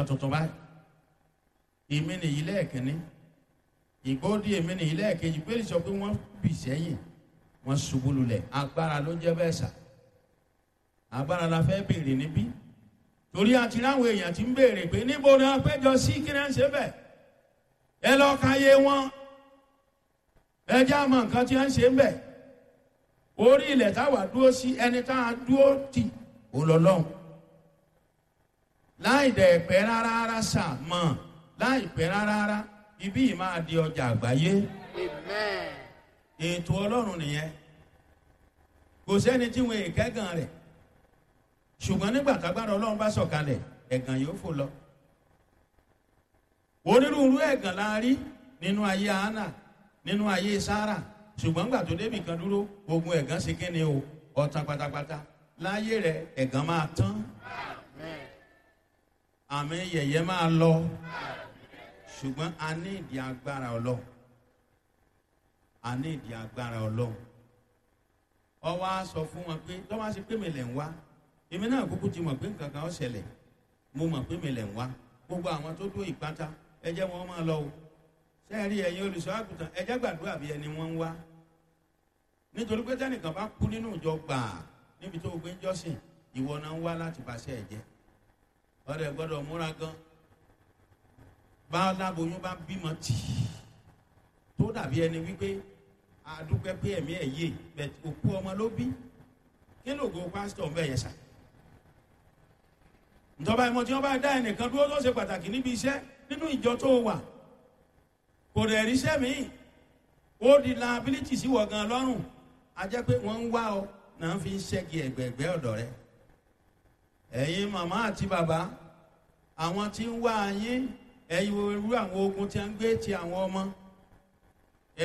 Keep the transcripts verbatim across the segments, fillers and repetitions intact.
nǹkan tuntun báyìí. Èmi nìyí lẹ́ẹ̀kínní, ìgbóòdì èmi nìyí lẹ́ẹ̀kejì. Pé sọ pé wọ́n bì sẹ́yìn, wọ́n ṣubú lulẹ̀. Agbára ló jẹ́ bẹ́ẹ̀ sà. Agbára la fẹ́ béèrè níbí, torí àti ráwọn èèyàn ti ń béèrè pé níbo ni wọ́n péjọ sí, kí náà ń ṣe bẹ́ẹ̀. Ẹ lọ ka yé wọn, ẹ jẹ́ àmọ́ nǹkan tí wọ́n ń ṣe ń bẹ̀. Orí ilẹ̀ táwa dúró sí, ẹni tá a dúró tì ó lọ lọ́hùn. Láì dẹ̀ pẹ́ rárá rárá sà mọ̀, láì pẹ́ rárá rárá, ibí yìí máa di ọjà àgbáyé. Amen. Ètò Ọlọ́run nìyẹn. Kò sẹ́ni tí wọn èkẹ́gàn rẹ̀, ṣùgbọ́n nígbà tágbára Ọlọ́run bá sọ̀kalẹ̀, ẹ̀gàn yóò fò lọ. Onírúurú ẹ̀gàn la rí nínú ayé Hánà, nínú ayé Sárà, ṣùgbọ́n gbà tó débì kan dúró, ogun ẹ̀gàn ṣe kíni o, ọ̀tàn pátápátá. Láyé rẹ̀, ẹ̀gàn máa tán. Amen. Àmì yẹ̀yẹ́ máa lọ, ṣùgbọ́n a ní ìdí agbára Ọlọ́run. A ní ìdí agbára Ọlọ́run. Ọwọ́ á sọ fún wọn pé tọ́wọ́ á ṣe pé mi lẹ̀ ń wá, èmi náà kúkú ti mọ̀ pé nǹkan kan ó ṣẹlẹ̀. Mo mọ̀ pé mi lẹ̀ ń wá. Gbogbo àwọn tó dúró ìpátá, ẹ jẹ́ wọn máa lọ o. Sẹ́ẹ̀rí, ẹ̀yin olùṣọ́ àgùntàn, ẹ jẹ́ gbàdúrà bí ẹni wọ́n ń wá, nítorí pé tẹ́nìkan bá kú nínú ìjọ gbàá níbi tó o gbé ń jọ́sìn, ìwọ náà ń wá láti bàṣẹ ẹ̀ jẹ́. Ọ̀rẹ́ gbọ́dọ̀ múra gan. Bá láboyún bá bímọ tì í, tó dàbí ẹni wípé àdúpẹ́ pé ẹ̀mí ẹ̀ yé bẹ̀, òkú ọmọ ló bí. Kí lóògùn pásítọ̀ ń bẹ̀ yẹn sà? Ìjọba ìmọ̀ tí wọ́n bá dá ẹnìkan dúró tó ṣe pàtàkì níbi iṣẹ́ nínú ìjọ tó wà, kò dẹ̀ ríṣẹ́ míì, ó di liability sí wọ̀ gan lọ́rùn. A jẹ́ pé wọ́n ń wá ọ náà fi ń ṣẹ́gi ẹ̀gbẹ̀ẹ̀gbẹ́ ọ̀dọ̀ rẹ. Ẹ̀yin màmá àti bàbá, àwọn tí ń wá yín, ẹ̀yin irú àwọn ogun tí a ń gbé ti àwọn ọmọ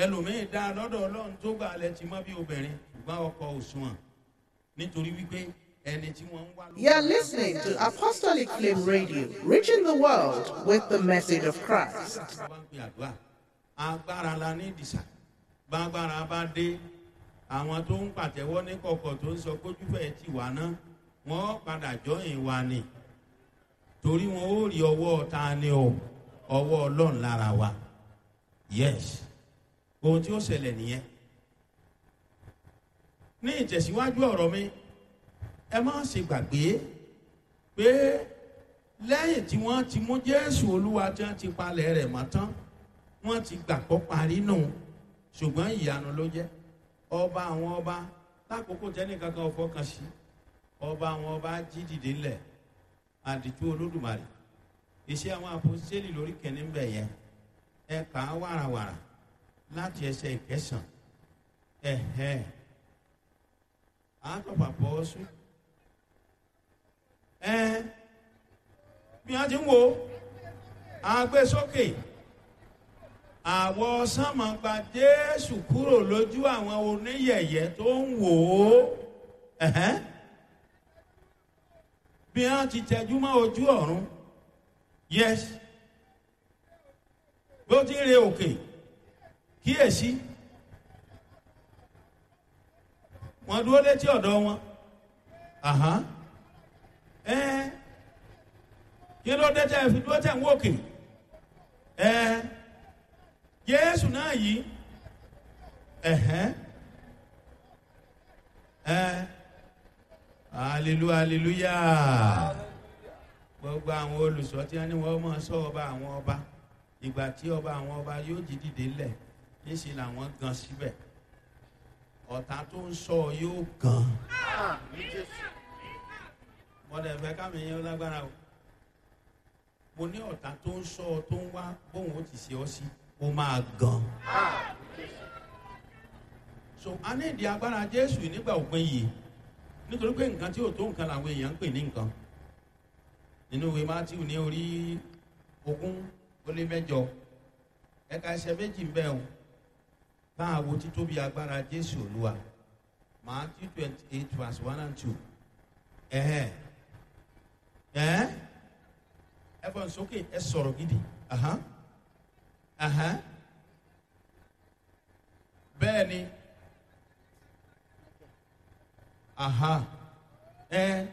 ẹlòmíín dá lọ́dọ̀ Ọlọ́run tó gbà lẹ ti mọ́ bí obìnrin, ṣùgbọ́n ọkọ òṣùwọ̀n, nítorí wípé ẹni tí wọ́n ń wá. You're listening to Apostolic Flame Radio, reaching the world with the message of Christ. Bá ń pè àdúrà, agbára la ní ìdìsà. Bágbára bá dé, àwọn tó ń pàtẹ́wọ́ ní kọ̀kọ̀ tó ń sọ kójúfẹ́ ti wà náà, wọ́n padà jọyìn wa ni, torí wọn ó rí ọwọ́ ta ni o, ọwọ́ Ọlọ́run lára wa. Yes, ohun tí ó ṣẹlẹ̀ nìyẹn. Ní ìtẹ̀síwájú ọ̀rọ̀ mi, ẹ má ṣe gbàgbé pé lẹ́yìn tí wọ́n ti mú Jésù Olúwa, tí wọ́n ti palẹ̀ rẹ̀ mọ́ tán, wọ́n ti gbàgbọ́ parí nù, ṣùgbọ́n ìyanu ló jẹ́. Ọba àwọn ọba, lákòókò tẹ́nìkankan ò fọkàn sí, ọba àwọn ọba jí dìde ńlẹ̀. Àdìtú Olódùmarè. Iṣẹ́ àwọn àpòsílẹ̀ lórí kẹ́ni ń bẹ̀ yẹn, ẹ kà á wàràwàrà láti ẹsẹ̀ ìkẹsàn. Ẹ̀hẹ́, àtọ̀pàpọ̀ ọ̀sùn ẹ bí wọ́n ti ń wo agbésókè àwọ̀ sánmọ̀ gba Jésù kúrò lójú àwọn oníyẹ̀yẹ́ tó ń wò ó. Ẹ̀hẹ́n, bí wọ́n ti tẹjú mọ́ ojú ọ̀run. Yes, bó ti ń re òkè, kíyèsí, wọ́n dúró létí ọ̀dọ̀ wọn. Àhán, ẹ kí ló dé tẹ́ fi dúró tẹ́ ń wòkè? Ẹ Jésù náà yìí. Ẹ̀hẹ́n, ẹ hallelujah, hallelujah. Gbogbo àwọn olùsọ tí wọ́n ní wọ́n máa sọ ọba àwọn ọba, ìgbà tí ọba àwọn ọba yóò jí dìde ńlẹ̀, níṣẹ́ làwọn gan síbẹ̀. Ọ̀tá tó ń sọ yóò gan. Àmín Jésù. Mọ̀dẹ̀ fẹ́ kámi yẹn lágbára o. Mo ní ọ̀tá tó ń sọ ọ, tó ń wá bóun ó ti ṣe ọ sí, ó máa gan. Àmín Jésù. So a ní ìdí agbára Jésù nígbà òpin yìí, nítorí pé nǹkan tí ò tó nǹkan làwọn èèyàn ń pè ní nǹkan. Nínú ìwé Mátíù ní orí ogún ó lé mẹ́jọ, ẹ̀ka ẹsẹ̀ méjì ń bẹ o, bá a wo títóbi agbára Jésù Olúwa. Matthew twenty eight verse one and two. Ẹ̀hẹ́n, ẹ̀ ẹ fọ́n sókè, ẹ sọ̀rọ̀ gidi. Ahan, ahan, bẹ́ẹ̀ ni. Aha, ẹ.